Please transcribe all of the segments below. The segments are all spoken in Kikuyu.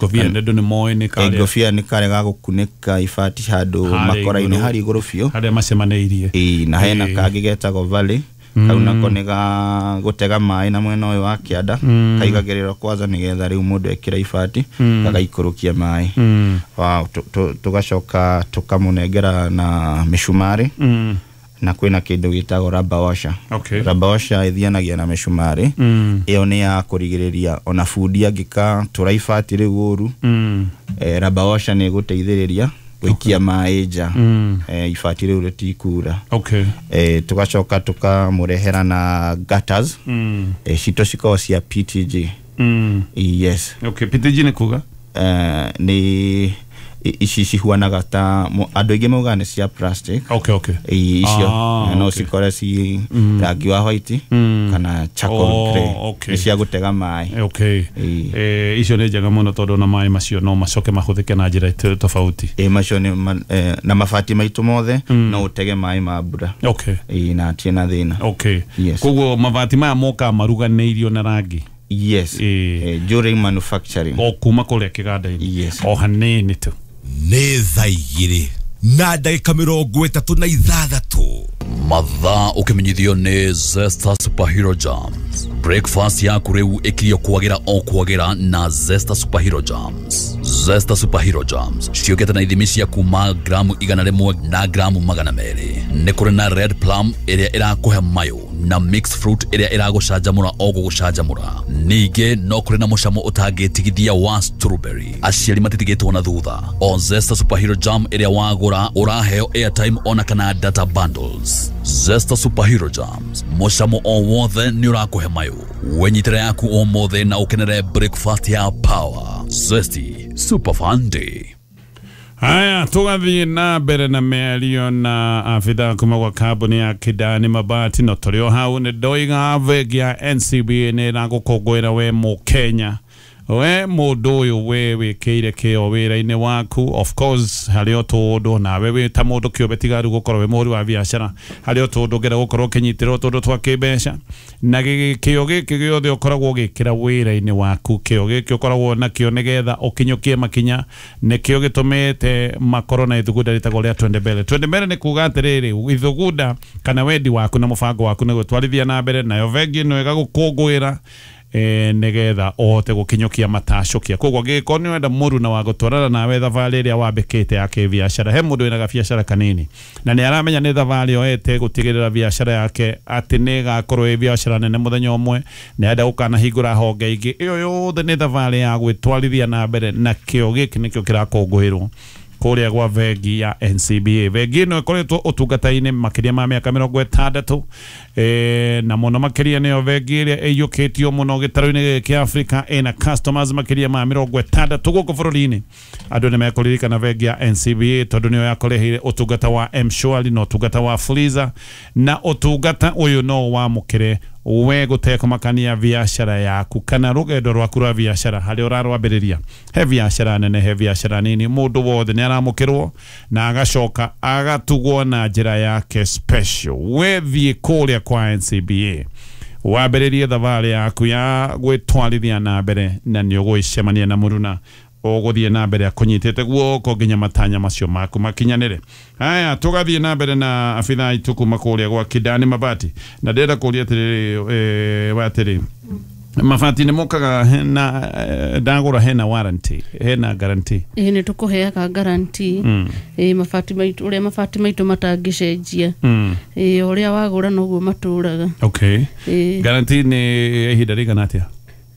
Ngobia nĩ andũ nĩ moĩ nĩ karĩa Ngobia nĩ karĩa ga gũkunĩka ibati handũ Harĩa makora-inĩ igũrũ. harĩa igũrũ biũ. Harĩa macemanĩirie. Ĩĩ, na hena Ĩĩ. kangĩ getagwo valley, kau nako nĩ ga gũtega maĩ na mwena ũyũ wa kĩanda, kaigagĩrĩrwo kwanza nĩgetha rĩu mũndũ ekĩra ibati gagaikũrũkia maĩ. Wow, tũgacoka tũkamũnengera na mĩcumarĩ na kwĩna kĩndũ gĩtagwo rubber washer. Rubber washer ĩthianagia na mĩcumarĩ. Ĩyo nĩ ya kũrigĩrĩria ona bundi angĩkatura ibati rĩu ũru, rubber washer nĩ ĩgũteithĩrĩria gũikia maĩ nja, ibati rĩu rĩtikura. Tũgacoka tũkamũrehera na gutters. Citũ cikoragwo cia PTG. Yes. Okay, PTG nĩ kuga? Nĩ ici cihuanaga ta andũ aingĩ maugaga nĩ cia plastic. Icio no cikore ci rangi wa white kana charcoal grey. Nĩ cia gũtega maĩ. Ĩĩ. Icio nĩ njega mũno tondũ ona maĩ macio no macoke mahũthĩke na njĩra tofauti. Ĩ, macio nĩ na mabati maitũ mothe no ũtege maĩ ma mbura. Ĩĩ, na hatirĩ na thĩna. Yes. Koguo mabati maya mokaga maruganĩirio na rangi? Yes. Ĩĩ. During manufacturing. O kuma kũrĩa kĩganda-inĩ? Yes. O hanini tu. Nĩ 2:36. Mathaa ũkĩmenyithio nĩ Zesta Superhero Jams. Breakfast yaku rĩu ĩkirio kwagĩra o kwagĩra na Zesta Superhero Jams. Zesta Superhero Jams ciũkĩte na ithimi cia kuma gramu 100 na gramu 200. Nĩ kũrĩ na red plum ĩrĩa ĩrakũhe mayũ na mixed fruit ĩrĩa ĩragũcanjamũra o gũgũcanjamũra. Ningĩ no kũrĩ na mũcamo ũtangĩtigithia wa strawberry. Aciari matitigĩtwo na thutha. O Zesta Superhero Jam ĩrĩa wagũra ũraheo airtime ona kana data bundles. Zesta Superhero Jams, mũcamo o wothe nĩ ũrakũhe mayũ. Wenyitĩre yaku ũmũthĩ na ũkenere breakfast ya power. Zesty Super Fun Day. Haya, tũgathiĩ na mbere na mĩario na abithaa kuma gwa kambuni ya Kidani Mabati. No tũrĩ o hau, nĩ ndoiga bengi ya NCBA nĩ ĩragũkũngũĩra we Mũkenya, we mũndũ ũyũ we wĩkĩire kĩo wĩra-inĩ waku. Of course harĩ o tũndũ nawe wĩ ta mũndũ kĩũmbe, tiga rĩu gũkorwo wĩ mũhũri wa biacara, harĩ o tũndũ ũngĩenda gũkorwo ũkĩnyitĩrwo tũndũ twa kĩmbeca na kĩo gĩkĩ gĩothe ũkoragwo ũgĩkĩra wĩra-inĩ waku, kĩo gĩkĩ ũkoragwo nakĩo nĩgetha ũkinyũkie makinya, nĩkĩo gĩtũmĩte makorwo na ithugunda rĩtagwo rĩa Twende Mbele. Twende Mbele nĩ kuga atĩrĩrĩ, ithugunda kana wendi waku na mũbango waku nĩ gwĩtwarithia na mbere, nayo bengi ĩno ĩgagũkũngũĩra nĩgetha ũhote gũkinyũkia matacũkia. Koguo angĩgĩkorwo nĩ ũrenda mũruna wa gũtwarana nawe thabarĩ ĩrĩa wambĩkĩte ya kĩbiacara, he mũndũ wĩna gabiacara kanini na nĩ aramenya nĩ thabarĩ oete gũtigĩrĩra biacara yake atĩ nĩ ĩgakorwo ĩ biacara nene mũthenya ũmwe, nĩ arenda gũkanahingũra honge ingĩ, ĩyo yothe nĩ thabarĩ ya gwĩtwarithia na mbere, na kĩo gĩkĩ nĩkĩo kĩrakũngũĩrwo kũrĩa gwa bengi ya NCBA. Bengi ĩno ĩkoretwo ũtungata-inĩ makĩria ma mĩaka 60, na mũno makĩria nĩyo bengi ĩrĩa ĩiyũkĩtio mũno gĩtarũ-inĩ gĩkĩ kĩa Africa, ĩna customers makĩria ma 60 gũkũ bũrũri-inĩ. Andũ nĩ mekũririkana bengi ya NCBA tondũ nĩyo yakũreheire ũtungata wa M-Shwari na ũtungata wa Fuliza, na ũtungata ũyũ no wamũkĩre we gũtekũmakania biacara yaku kana rũgendo rwaku rwa biacara harĩa ũrarwambĩrĩria. He biacara nene, he biacara nini, mũndũ wothe nĩ aramũkĩrwo na agacoka agatugwo na njĩra yake special. We thiĩ kũrĩa kwa NCBA wambĩrĩrie thabarĩ yaku ya gwĩtwarithia na mbere, na nĩ ũgũcemania na mũruna ũgũthiĩ na mbere akũnyitĩte guoko nginya matanya macio maku makinyanĩre. Haya, tũgathiĩ na mbere na abithaa aitũ kuma kũrĩa gwa Kidani Mabati, na ndĩrenda kũria atĩrĩrĩ, wa atĩrĩ, mabati nĩ mokaga hena ndagũra hena warranty, hena guarantee? Ĩĩ, nĩ tũkũheaga guarantee. Ĩĩ, mabati maitũ, ũrĩa mabati maitũ matangĩcenjia. Ĩĩ, ũrĩa wagũra noguo matũraga. Ĩĩ. Guarantee nĩ ihinda rĩigana atĩa?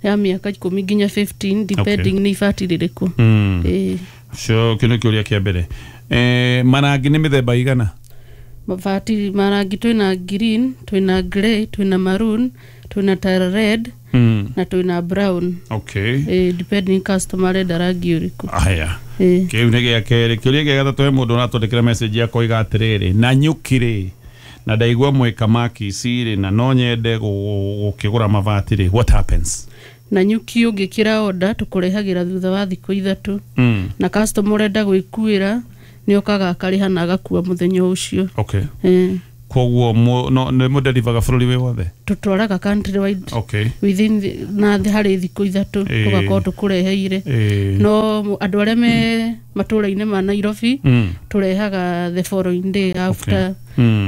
Ya mĩaka 10 nginya 15, depending nĩ ibati rĩrĩkũ. Ĩĩ. So kĩu nĩ kĩũria kĩa mbere. Marangi nĩ mĩthemba igana? Mabati marangi twĩna green, twĩna grey, twĩna maroon, twĩna tara red na twĩna brown. Ĩĩ, depending customer arenda rangi ũrĩkũ. Aya. Ĩĩ. Kĩu nĩ gĩa kerĩ. Kĩũria gĩa gatatũ, he mũndũ ũratwandĩkĩra message akoiga atĩrĩrĩ, na nyuki rĩ, na ndaigua mwĩka ma Kisii rĩ, na no nyende gũkĩgũra mabati rĩ, what happens? Na nyuki ũngĩkĩra order tũkũrehagĩra thutha wa thikũ 3. Na customer ũrenda gwĩkuĩra nĩ okaga akarĩha na agakua mũthenya ũcio. Ĩĩ. Koguo no nĩ mũdelivaga bũrũri wĩ wothe? Tũtwaraga country wide. Okay. Within na harĩ thikũ 3 tũgakorwo tũkũreheire. No andũ arĩa me matũũra-inĩ ma Nairobi tũrehaga the following day after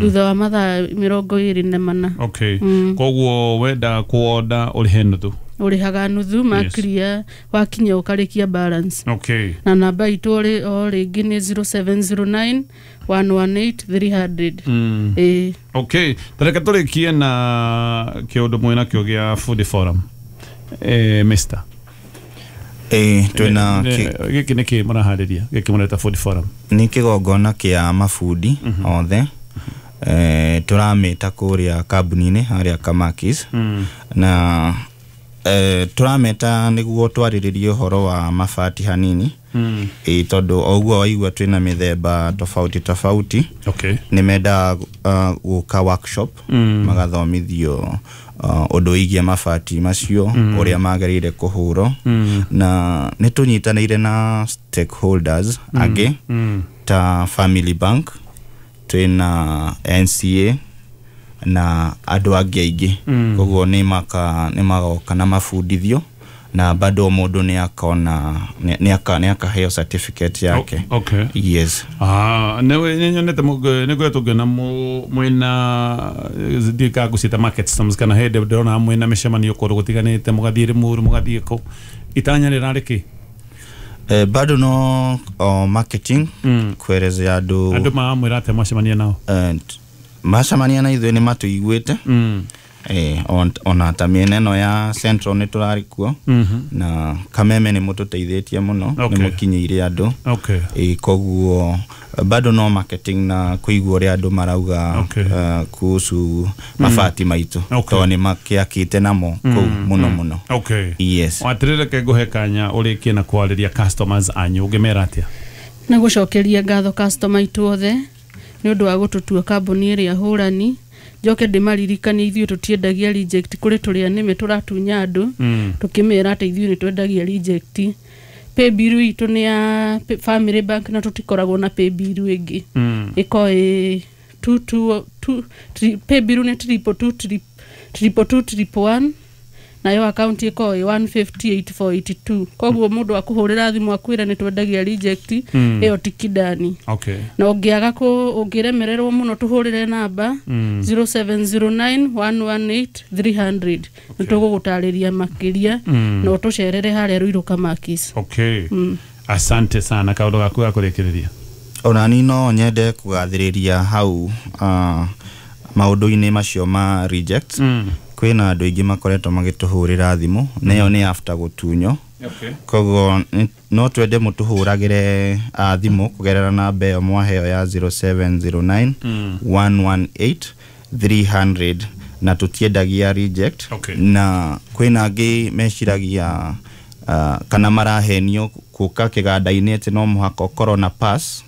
thutha wa mathaa 24. Okay. Koguo wenda kuoda ũrĩhe nuthu? Ũrĩhaga nuthu makria wakinya ũkarĩkia balance. Okay. Na namba itũ o rĩngĩ nĩ 0709 118 300. Okay. Tareke tũrĩkie na kĩũndũ mwĩna kĩo gĩa Food Forum. Mr. Twĩna gĩkĩ nĩkĩ mũraharĩria gĩkĩ mũreta Food Forum? Nĩ kĩgongona kĩa mabundi othe. Tũramĩta kũrĩa kambuni-inĩ harĩa Kamakis. Na tũrameta nĩguo twarĩrĩrie ũhoro wa mabati hanini. Tondũ o ũguo waigua twĩna mĩthemba tofauti tofauti. Okay. Nĩ mendaga gũka workshop magathomithio ũndũ wĩgiĩ mabati macio ũrĩa magĩrĩire kũhũrwo. Na nĩ tũnyitanĩire na stakeholders angĩ ta Family Bank, twĩna NCA na andũ angĩ aingĩ. Koguo nĩ magoka na mabundithio na bado mũndũ nĩ akona nĩ akaheo certificate yake. Okay. Yes. Nĩ nyonete nĩ ngoretwo ngĩona mwĩna ndiũĩ ngũciĩta market sums kana hĩndĩ ndĩrona mwĩna mĩcemanio kũndũ gũtiganĩte, mũgathiĩ Limuru, mũgathiĩ kũ. Itanya rĩrarĩ kĩ? Bado no marketing kuelezea andũ. Andũ mamwĩra atĩa mwacemania nao? Macemania na ithuĩ nĩ matũiguĩte. Ona ta mĩena ĩno ya Central nĩ tũrarĩ kuo. Na Kameme nĩ mũtũteithĩtie mũno, nĩ mũkinyĩire andũ. Okay. Koguo bado no marketing na kũigua ũrĩa andũ marauga kuhusu mabati maitũ. Tondũ nĩ makĩakĩte namo kũu mũno mũno. Okay. Yes. Atĩrĩrĩ, reke ngũhe kanya ũrĩkie na kwarĩria customers anyu, ũngĩmera atĩa? Na gũcokeria ngatho customer aitũ othe nĩ ũndũ wa gũtũtua kambuni ĩrĩa hũrani. Njoke ndĩmaririkanie ithuĩ tũtiendagia reject, kũrĩ tũrĩa nĩme tũratunya andũ tũkĩmera atĩ ithuĩ nĩ twendagia reject. Paybill itũ nĩ ya Family Bank na tũtikoragwo na paybill ĩngĩ. Ĩko ĩ 222 paybill nĩ 222 222 111 nayo account ĩko ĩ 158,482. Koguo mũndũ akũhũrĩra thimũ akwĩra nĩ twendagia reject, ĩyo ti Kidani. Okay. Na ũngĩaga ũngĩremererwo mũno tũhũrĩre namba 0709 118 300. Nĩ tũgũgũtarĩria makĩria na ũtũcerere harĩa Ruiru Kamakis. Okay. Asante sana kaũndũ gaku ga kũrĩkĩrĩria. Ona ni no nyende kũgathĩrĩria hau maũndũ-inĩ macio ma reject. Kwĩna andũ aingĩ makoretwo magĩtũhũrĩra thimũ nayo nĩ after gũtunyo. Okay. Koguo no twende mũtũhũragĩre thimũ kũgerera namba ĩyo mwaheo ya 0709 118 300 na tũtiendagia reject. Okay. Na kwĩna angĩ meciragia kana marahenio kũka kĩganda-inĩ atĩ no mũhaka ũkorwo na pass,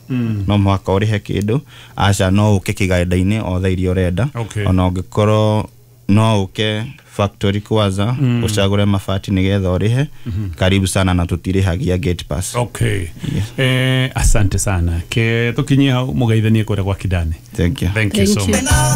no mũhaka ũrĩhe kĩndũ. Aca, no ũke kĩganda-inĩ o thaa iria ũrenda. Okay. Ona ũngĩkorwo no ũke factory kwanza ũcagũre mabati nĩgetha ũrĩhe. Karibu sana na tũtirĩhagia gate pass. Okay. Yes. Asante sana. Ke tũkinyie hau mũgeithanie kũrĩa gwa Kidani. Thank you. Thank you so much.